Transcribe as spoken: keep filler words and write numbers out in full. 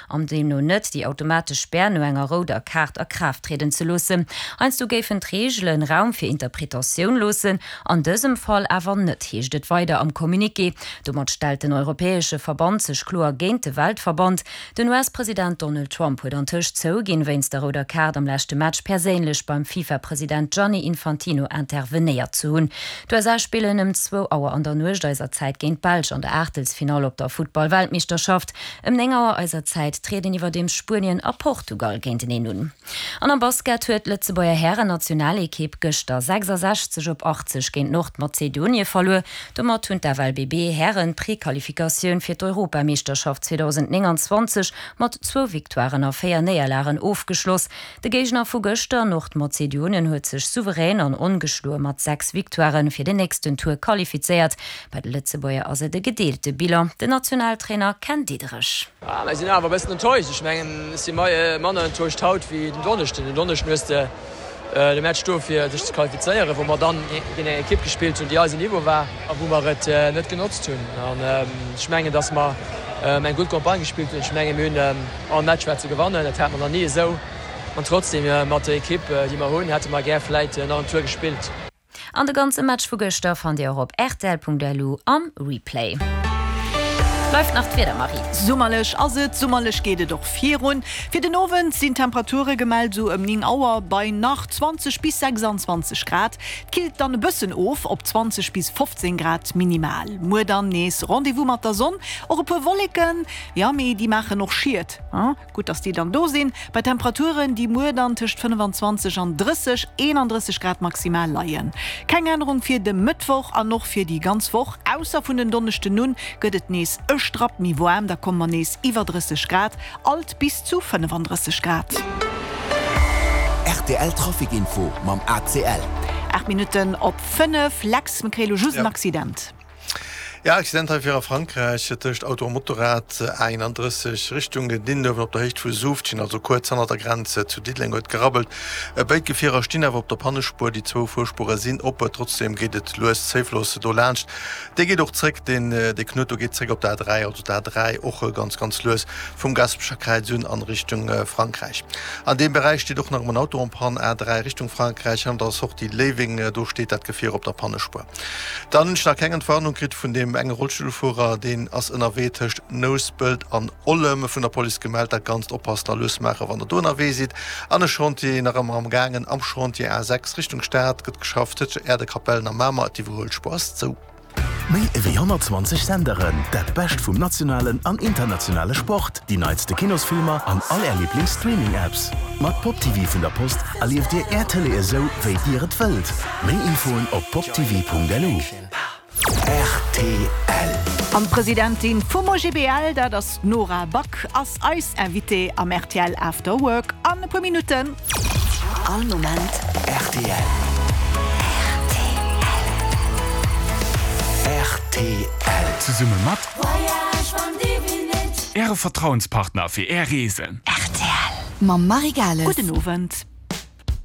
An deemno net déi automatesch Spär no enger rouder Kaart a Kraaft trieden ze loossen. Heiansdo géifen d'Reegelen Raum fir Interpretatioun loossen, an dësem Fall awer net, heescht et weider am Communiqué. Domat stellt den europäesche Verband sech kloer géint de Weltverband. Den US-President Donald Trump huet antëscht zouginn, wéinst der rouder Kaart am leschte Match perséinlech beim FIFA-President Gianni Infantino intervenéiert ze hunn. D'USA spillen ëm zwou Auer an der Nuecht eiser Zäit géint d'Belsch an der Aachtelsfinall op der Futtball-Weltmeeschterschaft. Ëm néng Auer eiser Zäit trieden iwwerdeems Spuenien a Portugal géinteneen un. An am Basket huet d'Lëtzebuerger Hären-Nationalekipp gëschter sechsasechzeg op achtzeg géint Nordmazedonie verluer. Domat hunn d'FLBB-Hären d'Prequalifikatioun fir d'Europameeschterschaft zweedausendnénganzwanzeg mat zwou Victoiren a véier Néierlagen ofgeschloss. De Géigner vu gëschter, Nordmazedonien, huet sech souverän an ongeschloe mat sechs Victoiren fir den nächsten Tour qualifizéiert. Bei de Lëtzebuerger ass et e gedeelte Bilan. Den Nationaltrainer Ken Diederich. Ah, mir sinn awer e bëssen enttäuscht. Ech mengen, ech si manner enttäuscht haut wéi den Donneschden. Den Donneschden hues de de Match do fir sech ze qualifizéieren, wou mer dann géint eng Ekipp gespillt hunn, déi eisem Niveau war a wou mer et net genotzt hunn. An ech mengen, datt mer eng gutt Campagne gespillt hunn. Ech mengen, mir hunn all Match war ze gewannen. Dat hate mer nach ni esou. An trotzdem, mat der Ekipp, déi mer hunn, hätte mer gär vläit nach en Tour gespillt. An de ganze Match vu gëschter fannt Dir och op rtl.lu am Replay. Bleift nach d'Wieder, Marie. Summerlech ass et, summerlech geet et och virun. Fir den Owend sinn Temperature gemellt, sou ëm néng Auer bei nach zwanzeg bis sechsanzwanzeg Grad. Et killt dann e bëssen of op zwanzeg bis fofzéng Grad minimal. Muer dann nees Rendez-vous mat der Sonn, och e puer Wolleken, jo mee déi maachen och Schied. Gutt, dass déi dann do sinn, bei Temperaturen, déi muer dann tëscht fënnefanzwanzeg an drësseg, eenandrësseg Grad maximal leien. Keng Ännerung fir de Mëttwoch an och fir déi ganz Woch, ausser vun en Donneschden un gëtt et nees e Strapp méi waarm, da komme mer nees iwwer drësseg Grad, alt bis zu fënnefandrësseg Grad. Rtl Trafic Info mam A C L. Aacht Minutten op fënnef, Lex, mir kréie lo just en Accident. Ja, Accident hei fir a Frankräich tëscht Auto a Motorrad, A eenandrësseg Richtung Dindöwen op der Héicht vu Suuftchen, also kuerz hannert der Grenz zu Diddeleng huet gerabbelt. Béid Gefierer stinn awer op der Pannespuer, déi zwou Fuerspuere sinn op. Trotzdeem geet et lues zéiflos do laanscht. Dee geet och zréck, deen dee Knuet do geet zréck op der A dräi, also d'A dräi och ganz ganz lues vum Gaasperecher Kräiz un an Richtung Frankräich. An deem Beräich steet och nach ëmmer en Auto en panne, A dräi Richtung Frankräich hannert der Sortie Léiweng, do steet dat Gefier op der Pannespuer. Dann hunn ech nach keng Entwarnung kritt vun deem enge Rollstullfuerer, deen ass ënnerwee tëscht Nouspelt an Ollem, vun der Police gemellt. Dat Ganzt oppassen a lues maachen, wann der do ënnerwee sidd. An e Chantier nach ëmmer am gaangen am Chantier A sechs Richtung Stad gëtt geschafft tëscht Äerdekapellen a Mamer. D'Iwwerhuelspuer ass zou. Méi ewéi honnertzwanzeg Senderen, dat Bescht vum nationalen an internationale Sport, déi neitste Kinosfilmer an all Är Liiblings-Streaming-Apps. Mat PopTv vun der Post erlieft Dir Är Tëlee esou, wéi Dir et wëllt. Méi Infoen op poptv Punkt L U. R T L. An d'Presidentin vum O G B L, dat ass d'Nora Back, ass eis Invitée am R T L After Work an e puer Minutten. All Moment R T L. R T L. Zesumme mat Äre Vertrauenspartner fir Är Reesen. R T L mam Marie Gales. Gudden Owend.